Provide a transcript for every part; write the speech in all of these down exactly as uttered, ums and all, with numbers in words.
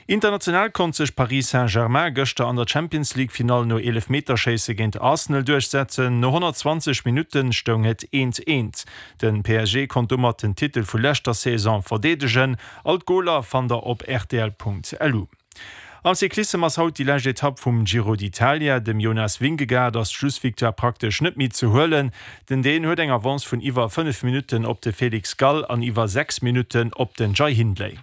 International konnt sech Paris Saint-Germain gëschter an der Champions-League-Finall no Eelefmeterschéisse géint Arsenal duerchsetzen. No honnertzwanzeg Minutte stoung et eent eent. De P S G konnt domat den Titel vu leschter Saison verdeedegen. All d'Goler fannt der op rtl Punkt lu. Am Cyclissem ass haut déi lescht Etapp vum Giro d'Italia. Dem Jonas Vingegaard ass d'Schlussvictoire praktesch net méi ze huelen. Den Dän huet eng Avance vun iwwer fënnef Minutten op de Felix Gall an iwwer sechs Minutten op den Jai Hindley.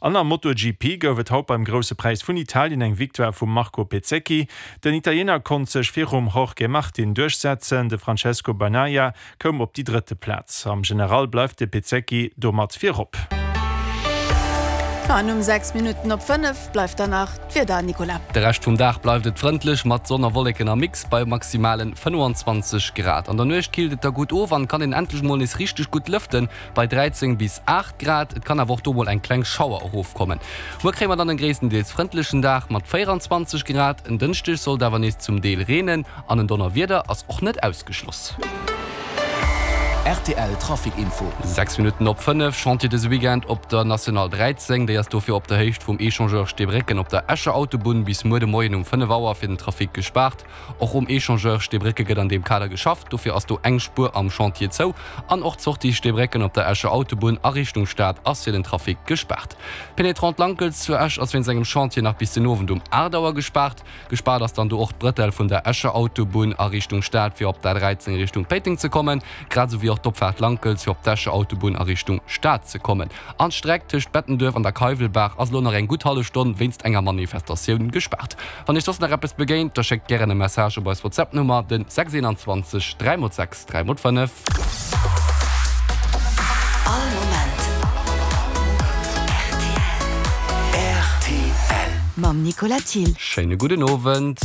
An am MotoGP gouf et haut beim Grousse Präis vun Italien eng Victoire vum Marco Bezzecchi. Den Italiener konnt sech virum Jorge Martin duerchsetzen, de Francesco Bagnaia koum op déi drëtte Plaz. Am General bleift de Bezzecchi domat virop. An um sechs Minutten op fënnef bleift dann nach d'Wieder, Nicolas. De Rescht vum Dag bleift et frëndlech mat Sonn a Wolleken am Mix bei maximalen fënnefenzwanzeg Grad. An der Nuecht killt et da gutt of an kann een endlech mol nees richteg gutt lëften bei dräizéng bis aacht Grad. Et kann awer och do mol eng kleng Schauer erofkommen. Muer kréie mer dann en gréisstendeels frëndlechen Dag mat véieranzwanzeg Grad. En Dënschdeg soll et awer nees zum Deel reenen an en Donnerwieder ass och net ausgeschloss. R T L Trafic Info. Sechs Minutten op fënnef, Chantier dëse Weekend op der National dräizéng. Déi ass dofir op der Héicht vum Echangeur Steebrécken op der Escher Autobunn bis muer de Moien um fënnef Auer fir den Trafic gespaart. Och um Echangeur Steebrécke gëtt an deem Kader geschafft, dofir ass do eng Spuer am Chantier zou. An och d'Sortie Steebrécken op der Escher Autobunn a Richtung Stad ass fir den Trafic gespaart. D'Pénétrante Lankels zu Esch ass wéinst engem Chantier nach bis den Owend um aacht Auer gespaart. Gespaart ass dann do och d'Brëttel vun der Escher Autobunn a Richtung Stad fir op d'A dräizéng Richtung Péiteng ze kommen, grad esou wéi och d'Opfaart Lankels fir op d'Escher Autobunn a Richtung Stad ze kommen. An d'Streck tëscht Bettenduerf an der Keiwelbaach ass elo nach eng gutt hallef Stonn wéinst enger Manifestatioun gespaart. Wann iech soss nach eppes begéint, da schéckt gären e Message op eis WhatsApp-Nummer, den sechs eenanzwanzeg dräi mol sechs dräi mol fënnef. All Moment R T L. Mam Nicolas Thill. Schéine gudden Owend.